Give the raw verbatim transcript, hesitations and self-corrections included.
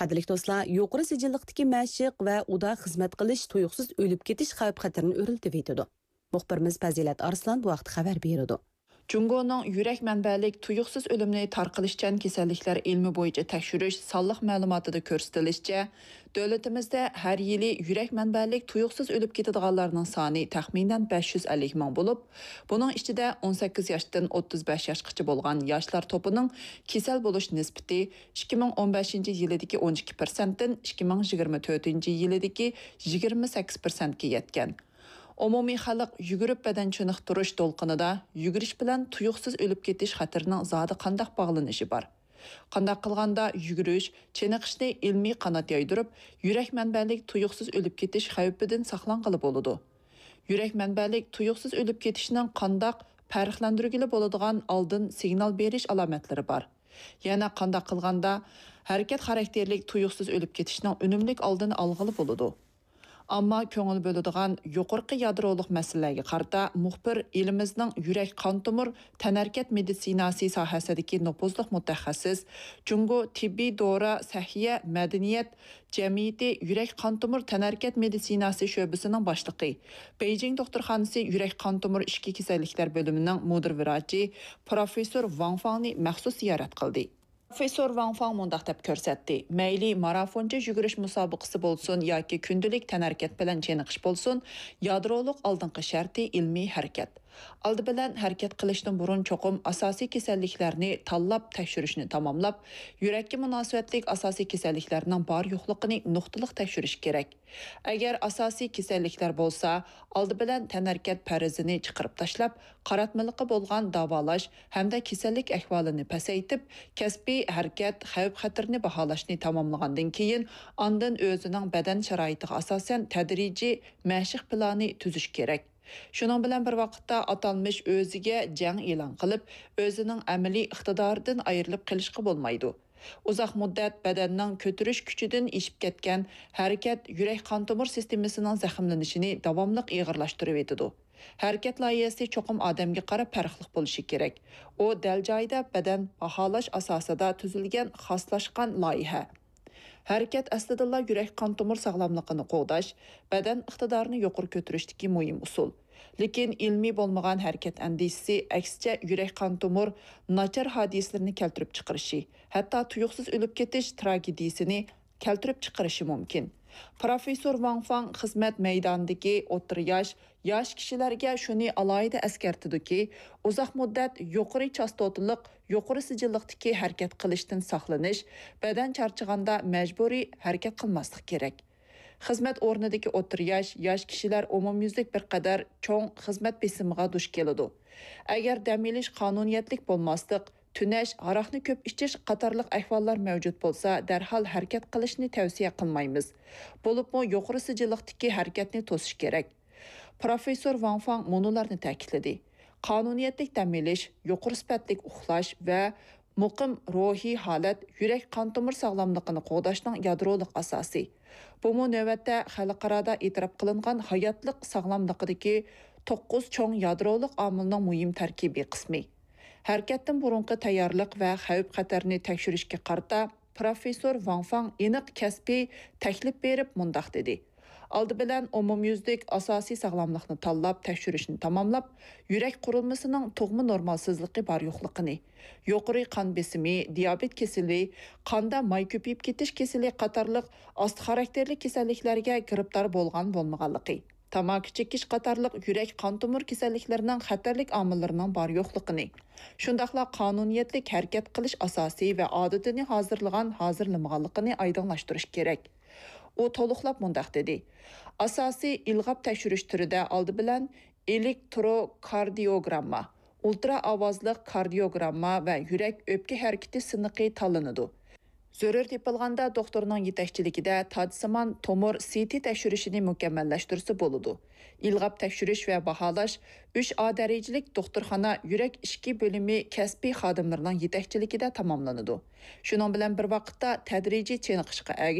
قەدىرلىك دوستلار، يۇقىرى سىجىللىقتىكى مەشىق ۋە ئۇدا خىزمەت قىلىش تۇيۇقسىز ئۆلۈپ كېتىش خەۋپ-خەتىرىنى ئۆرلىتىۋېتىدۇ. مۇخبىرىمىز پەزىلەت ئارسلان بۇ ھەقتە خەۋەر بېرىدۇ. جۇڭگونىڭ يۈرەك مەنبەلىك تۇيۇقسىز ئۆلۈمنى تارقىلىشچان كېسەللىكلەر ئىلمى بويىچە تەكشۈرۈش سانلىق مەلۇماتىدا كۆرسىتىلىشىچە، دۆلىتىمىزدە ھەر يىلى يۈرەك مەنبەلىك تۇيۇقسىز ئۆلۈپ كېتىدىغانلارنىڭ سانى تەخمىنەن بەش يۈز ئەللىك مىڭ بولۇپ، بۇنىڭ ئىچىدە ئون سەككىز ياشتىن ئوتتۇز بەش ياشقىچە بولغان ياشلار توپىنىڭ كېسەل بولۇش نىسبىتى ئىككى مىڭ ئون بەشىنچى يىلىدىكى ئون ئىككى پىرسەنتتىن ئىككى مىڭ يىگىرمە تۆتىنچى يىلىدىكى يىگىرمە سەككىز پىرسەنتكە يەتكەن. ئومۇمىي خەلق يۈگۈرۈپ بەدەن چېنىقتۇرۇش دولقۇنىدا يۈگۈرۈش بىلەن تۇيۇقسىز ئۆلۈپ كېتىش خەتىرىنىڭ زادى قانداق باغلىنىشى بار؟ قانداق قىلغاندا يۈگۈرۈش، چېنىقىشنى ئىلمىي قانات يايدۇرۇپ، يۈرەك مەنبەلىك تۇيۇقسىز ئۆلۈپ كېتىش خەۋپىدىن ساقلانغىلى بولىدۇ؟ يۈرەك مەنبەلىك تۇيۇقسىز ئۆلۈپ كېتىشنىڭ قانداق پەرقلەندۈرگىلى بولىدىغان ئالدىن سىگنال بېرىش ئالامەتلىرى بار؟ يەنە قانداق قىلغاندا ھەرىكەت خاراكتېرلىك تۇيۇقسىز ئۆلۈپ كېتىشنىڭ ئۈنۈملۈك ئالدىنى ئالغىلى بولىدۇ؟ ئامما كۆڭۈل بۆلىدىغان يۇقىرىقى يادرولۇق مەسىلىلەرگە قارىتا مۇخبىر ئېلىمىزنىڭ يۈرەك قان تومۇر تەنھەرىكەت مېدىتسىناسى ساھەسىدىكى نوپۇزلۇق مۇتەخەسسىس، جۇڭگو تېببىي دورا سەھىيە مەدەنىيەت جەمئىيىتى يۈرەك قان تومۇر تەنھەرىكەت مېدىتسىناسى شۆبىسىنىڭ باشلىقى، بېيجىڭ دوختۇرخانىسى يۈرەك قان تومۇر ئىچكى كېسەللىكلەر بۆلۈمىنىڭ مۇدىر ۋراچى پروفېسسور ۋاڭ فاڭنى مەخسۇس زىيارەت قىلدى. پروفېسسور ۋاڭ فاڭ مۇنداق دەپ كۆرسەتتى، مەيلى مارافونچە يۈگۈرۈش مۇسابىقىسى بولسۇن ياكى كۈندىلىك تەنھەرىكەت بىلەن چېنىقىش بولسۇن، يادرولۇق ئالدىنقى شەرتى ئىلمىي ھەرىكەت. ئالدى بىلەن ھەرىكەت قىلىشتىن بۇرۇن چوقۇم ئاساسىي كېسەللىكلەرنى تاللاپ تەكشۈرۈشنى تاماملاپ، يۈرەككە مۇناسىۋەتلىك ئاساسىي كېسەللىكلەرنىڭ بار يوقلۇقىنى نۇقتىلىق تەكشۈرۈش كېرەك. ئەگەر ئاساسىي كېسەللىكلەر بولسا، ئالدى بىلەن تەنھەرىكەت پەرىزىنى چىقىرىپ تاشلاپ، قاراتمىلىقى بولغان داۋالاش ھەمدە كېسەللىك ئەھۋالىنى پەسەيتىپ، كەسپىي ھەرىكەت خەۋپ-خەتىرىنى باھالاشنى تاماملىغاندىن كېيىن، ئاندىن ئۆزىنىڭ بەدەن شارائىتىغا ئاساسەن تەدرىجىي مەشىق پىلانى تۈزۈش كېرەك. شۇنىڭ بىلەن بىر ۋاقىتتا، ئاتالمىش ئۆزىگە جەڭ ئېلان قىلىپ، ئۆزىنىڭ ئەمەلىي ئىقتىدارىدىن ئايرىلىپ قېلىشقا بولمايدۇ. ئۇزاق مۇددەت بەدەننىڭ كۆتۈرۈش كۈچىدىن ئېشىپ كەتكەن ھەرىكەت يۈرەك قان تومۇر سىستېمىسىنىڭ زەخىملىنىشىنى داۋاملىق ئېغىرلاشتۇرۇۋېتىدۇ. ھەرىكەت لايىھەسى چوقۇم ئادەمگە قاراپ پەرقلىق بولۇشى كېرەك. ئۇ دەل جايىدا بەدەن باھالاش ئاساسىدا تۈزۈلگەن خاسلاشقان لايىھە. ھەرىكەت ئەسلىدىنلا يۈرەك قان تومۇر ساغلاملىقىنى قوغداش، بەدەن ئىقتىدارىنى يۇقىرى كۆتۈرۈشتىكى مۇھىم ئۇسۇل. لېكىن ئىلمىي بولمىغان ھەرىكەت ئەندىزىسى، ئەكسىچە، يۈرەك قان تومۇر ناچار ھادىسىلىرىنى كەلتۈرۈپ چىقىرىشى، ھەتتا تۇيۇقسىز ئۆلۈپ كېتىش تراگېدىيىسىنى كەلتۈرۈپ چىقىرىشى مۇمكىن. پروفېسسور ۋاڭ فاڭ خىزمەت مەيدانىدىكى ئوتتۇرا ياش، ياش كىشىلەرگە شۇنى ئالاھىدە ئەسكەرتىدۇكى، ئۇزاق مۇددەت يۇقىرى چاستوتىلىق، يۇقىرى سىجىللىقتىكى ھەرىكەت قىلىشتىن ساقلىنىش، بەدەن چارچىغاندا مەجبۇرىي ھەرىكەت قىلماسلىق كېرەك. خىزمەت ئورنىدىكى ئوتتۇرا ياش، ياش كىشىلەر ئومۇميۈزلۈك بىر قەدەر چوڭ خىزمەت بېسىمىغا دۇچ كېلىدۇ. ئەگەر دەم ئېلىش قانۇنىيەتلىك بولماسلىق، تۈنەش، ھاراقنى كۆپ ئىچىش قاتارلىق ئەھۋاللار مەۋجۇت بولسا، دەرھال ھەرىكەت قىلىشنى تەۋسىيە قىلمايمىز. بولۇپمۇ يۇقىرى سىجىللىقتىكى ھەرىكەتنى توسۇش كېرەك. پروفېسسور ۋاڭ فاڭ مۇنۇلارنى تەكىتلىدى: قانۇنىيەتلىك دەم ئېلىش، يۇقىرى سۈپەتلىك ئۇخلاش ۋە مۇقىم روھىي ھالەت يۈرەك قان تومۇر ساغلاملىقىنى قوغداشنىڭ يادرولۇق ئاساسى. بۇمۇ نۆۋەتتە خەلقئارادا ئېتىراپ قىلىنغان ھاياتلىق ساغلاملىقىدىكى توققۇز چوڭ يادرولۇق ئامىلنىڭ مۇھىم تەركىبىي قىسمى. ھەرىكەتتىن بۇرۇنقى تەييارلىق ۋە خەۋپ-خەتەرنى تەكشۈرۈشكە قارىتا پروفېسسور ۋاڭ فاڭ ئېنىق كەسپىي تەكلىپ بېرىپ مۇنداق دېدى: ئالدى بىلەن ئومۇميۈزلۈك ئاساسىي ساغلاملىقنى تاللاپ تەكشۈرۈشنى تاماملاپ، يۈرەك قۇرۇلمىسىنىڭ تۇغما نورمالسىزلىقى بار يوقلۇقىنى، يۇقىرى قان بېسىمى، دىيابېت كېسىلى، قاندا ماي كۆپىيىپ كېتىش كېسىلى قاتارلىق ئاستا خاراكتېرلىك كېسەللىكلەرگە گىرىپتار بولغان بولمىغانلىقى، تاماكا چېكىش قاتارلىق يۈرەك قان تومۇر كېسەللىكلىرىنىڭ خەتەرلىك ئامىللىرىنىڭ بار يوقلۇقىنى، شۇنداقلا قانۇنىيەتلىك ھەرىكەت قىلىش ئاساسى ۋە ئادىتىنى ھازىرلىغان، ھازىرلىمىغانلىقىنى ئايدىڭلاشتۇرۇش كېرەك. ئۇ تولۇقلاپ مۇنداق دېدى: ئاساسىي ئىلغاپ تەكشۈرۈش تۈرىدە ئالدى بىلەن ئېلېكتروكاردىيوگرامما، ئۇلترا ئاۋازلىق كاردىيوگرامما ۋە يۈرەك ئۆپكە ھەرىكىتى سىنىقى تاللىنىدۇ. زۆرۈر تېپىلغاندا، دوختۇرنىڭ يېتەكچىلىكىدە تاجسىمان تومۇر سىتى تەكشۈرۈشىنى مۇكەممەللەشتۈرسە بولىدۇ. ئىلغاپ تەكشۈرۈش ۋە باھالاش ئۈچ ئا دەرىجىلىك دوختۇرخانا يۈرەك ئىچكى بۆلۈمى كەسپىي خادىملىرىنىڭ يېتەكچىلىكىدە تاماملىنىدۇ. شۇنىڭ بىلەن بىر ۋاقىتتا، تەدرىجىي چېنىقىشقا ئەگىشىپ،